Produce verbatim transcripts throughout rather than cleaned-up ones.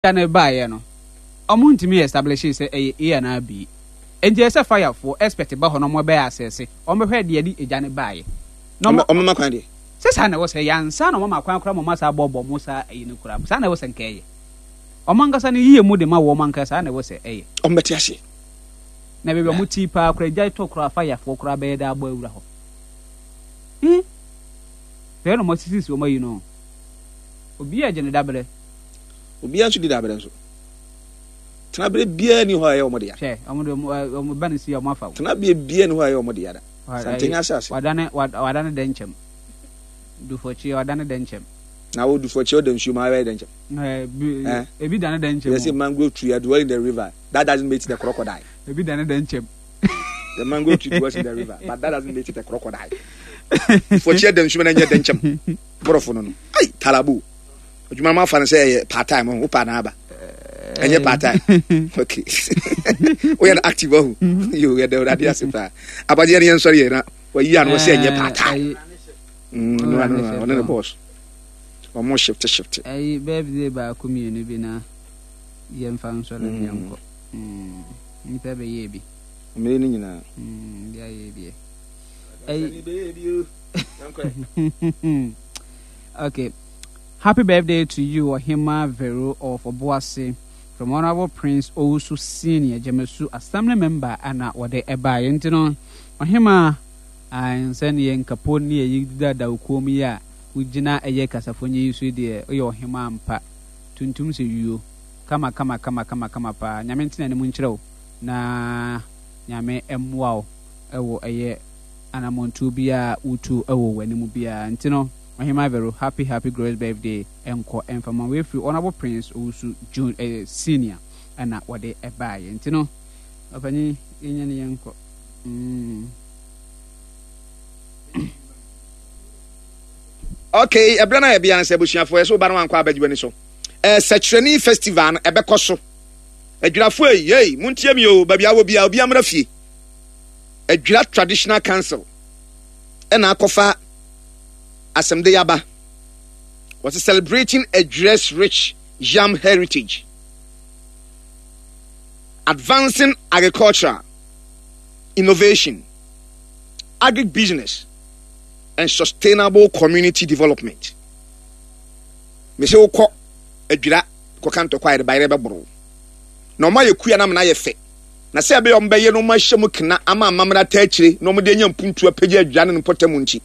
No baeɛ no, ɔmo ntumi establish sɛ ɛyɛ A anaa B. Nti ɛsɛ firefoɔ expert ba hɔ na ɔmo bɛyɛ asɛse, ɔmo bɛhwɛ deɛ de egya no baeɛ. Na ɔmo ɔmo ma kwan deɛ. Sɛ saa na ɛwɔ sɛ yansa na ɔmo ma kwan koraa ma ɔmo asa abɔbɔ mo saa ɛyi no koraa, saa na ɛwɔ sɛ nka ɛyɛ. Ɔmo ankasa no yie mu de ma wɔ ɔmo ankasa, saa na ɛwɔ sɛ ɛyɛ. Ɔmo bɛte aseɛ. Na baabi a ɔmo ti paa koraa, egya tɔ koraa, firefoɔ koraa bɛyɛ dɛ abɔ awura hɔ. Hmm, hwɛ na ɔmo asisisi ɔmo ayi no, obi a gye ne dabrɛ. Obiara nso di dabrɛ nso. Tenaberɛ biara ni hɔ a ɛyɛ ɔmo dea. Hwɛ, ɔmo de ɔmo ɔmo ba ne si a ɔmo afa wo. Tenaberɛ biara ni hɔ a ɛyɛ ɔmo dea da. Santenya asase. Wadane wadane dɛnkyɛm. Dufɔkyeɛ wadane dɛnkyɛm. Na wo dufɔkyeɛ ɔda nsuo mu ayɛ dɛnkyɛm. Ɛɛ bi ebi dane dɛnkyɛm. Yɛ sɛ mangrove tree dwell in the river, that doesn't make it a crocodile. Ebi dane dɛnkyɛm. The mangrove tree dwells in the river, but that doesn't make it a crocodile. Dufɔkyeɛ da nsuo mu na nyɛ dɛnkyɛm. Borɔfo no no. Ai talabo. Adwuma no afa no sɛ ɛyɛ part time ho pa na aba. Ɛnyɛ part time. Okay. Woyɛ no active ahu. Yo, yɛ dɛ Awurade ase paa. Abagye yɛ no yɛn sɔre yɛ na wayi ano sɛ ɛnyɛ part time. Mm, no, no, no, ɔne ne boss. Ɔmo shift shift. Ɛyi birthday baako mmienu bi na yɛmfa nsɔre ne yɛnkɔ. Mm, nipa bɛyɛ bi. Mmere no nyinaa. Mm, bi ayɛ bi. Ɛyi bɛyɛ bi o. Yɛnkɔ. Okay. Happy birthday to you, Ohima Vero of Obuasi, from Honorable Prince Owusu Senior, Jemesu Assembly Member, ana wɔde ɛbaeɛ. Nti no, Ohima, nsɛ ne yɛ nkapo ne yɛyi dada okuom yi a wogyina ɛyɛ kasafo nye yi so yi deɛ, woyɛ ɔhema ampa. Tuntum sɛ yuo. Kama kama kama kama kama paa. Nyame ntena anim nkyerɛ wo na Nyame mmoa wo ɛwɔ ɛyɛ anammɔntuo biara wotu ɛwɔ w'anim biara. Nti no, Ɔhema Vero, happy happy glorious birthday ɛnkɔ ɛmfama wei firi Honorable Prince Owusu June eh, Senior ɛna wɔde ɛbaeɛ. Nti no, ɔpanyin, yɛnyɛ ne yɛnkɔ. Mm. Okay, ɛberɛ no a yɛbea no sɛ abusuafoɔ yɛ sɛ woba no wankɔ abɛgye w'ani so. Ɛɛ sɛkyerɛni festival no ɛbɛkɔ so. Adwirafoɔ yi, yei, montie mi o, baabi awɔ bia, obi amra fie. Adwira Traditional Council ɛna akɔfa asɛmde yaba. Wɔse celebrating Adwira's rich yam heritage, advancing agricultural innovation, agribusiness, and sustainable community development. Mese wokɔ Adwira kɔka ntɔkwa a yɛde bayerɛ bɛboro na ɔma yɛ kua na amena yɛ fɛ, na sɛ ɛbɛyɛ ɔmo bɛyɛ no ɔmo ahyɛ mu kena ama amammerɛ ata akyire na ɔmo de anya mpuntu apagya Adwira ne ne mpɔtam nti,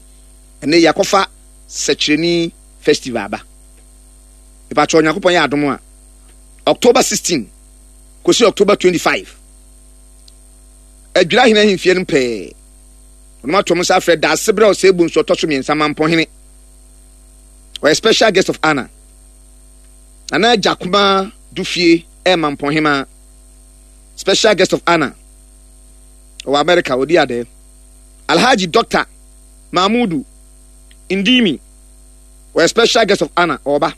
ɛnɛ yɛakɔfa sɛkyerɛni festival aba. Mepakyɛ, Onyankopɔn yɛ adom a, October sixteen kɔsi October twenty-five, Adwira hene ahemfie no pɛɛ ɔnom ato ɔmo nsa afrɛ daase berɛ a ɔsɛ bu nso ɔtɔ so mmiɛnsa Mampɔhene, ɔyɛ special guest of honor. Nana Agya Kuma Dufie ɛyɛ Mampɔhema special guest of honor, ɔwɔ America ɔdi adɛ. Alhaji Doctor Mahmudu Ndimi, ɔyɛ special guest of honor, ɔba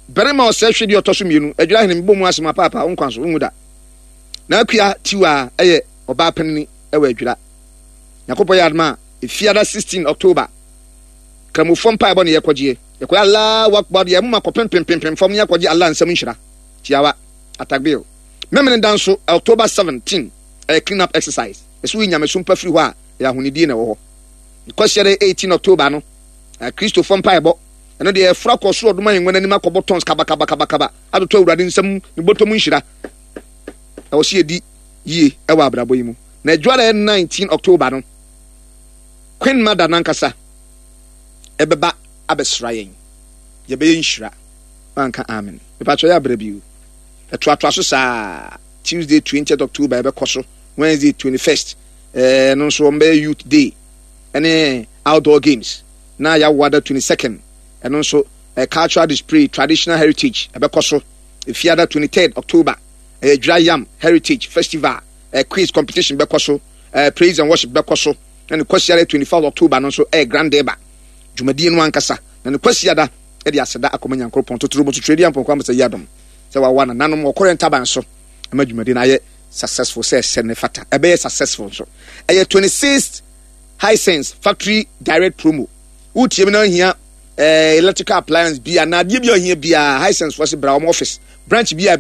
barima ɔsɛ hwɛ deɛ ɔtɔ so mmienu Adwira hene mbɔ mu asɛm apaapa wo nkwa so nwu da. Na Akua Tiwa ɛyɛ ɔbaa panini ɛwɔ Adwira. Nyankopɔn yɛ adoma a, efiada sixteen October, Kramofoɔ mpaebɔ ne yɛkɔgyeɛ, yɛkɔyɛ Allahu Akbar, yɛ moma kɔpempempempem fam ne yɛkɔgye Allah nsɛm nhyira tiawa atakbir. Memene da nso October seventeen ɛyɛ clean up exercise, ɛsɛ woyi nyamesom pa firi hɔ a ɛyɛ ahonidie na ɛwɔ hɔ. Kwasiada eighteen October no, Kristofoɔ mpaebɔ, ɛno deɛ yɛforo akɔ soro ɔdom ahengua no anim akɔbɔ tons kabakabakabakaba atotɔ Awurade nsɛm ne bɔtɔm nhyira. Ɛwɔ sɛ yɛdi yie ɛwɔ abrabɔ yi mu. Na adwuara nineteen October no, Queen Mother nankasa ɛbɛba abɛsra yɛn, yɛbɛyɛ nhyira. Manka amen. Mepatwɛ yɛ abrɛ bio. Ɛtoatoa so saa. Tuesday twentieth October ɛbɛkɔ so. Wednesday twenty-first ɛɛ no nso wɔn bɛyɛ youth day ɛne outdoor games. Na yɛawoada twenty-second, ɛno nso ɛɛ cultural display, traditional heritage ɛbɛkɔ so. Efiada twenty-third October ɛyɛ Dwira Yam Heritage Festival, ɛɛ quiz competition bɛkɔ so, ɛɛ praise and worship bɛkɔ so. Na ne kwasiada twenty-fourth October no nso ɛyɛ Grand Deba dwumadie no ankasa. Na ne kwasiada ɛde aseda akɔma Nyankoropɔn totoro mu totoro edi ampɔnkɔ amasa yi adom sɛ wawa nananom wɔkɔrɛ ntaban so ɛma dwumadie no ayɛ successful sɛ ɛsɛ ne fata ɛbɛyɛ successful nso. Ɛyɛ twenty-sixth Hisense factory direct promo. Wotie mi na ohia eh, electrical appliance bi anaa adeɛ bi a ɔhia biara, Hisense fɔ se bra wɔn office branch bi a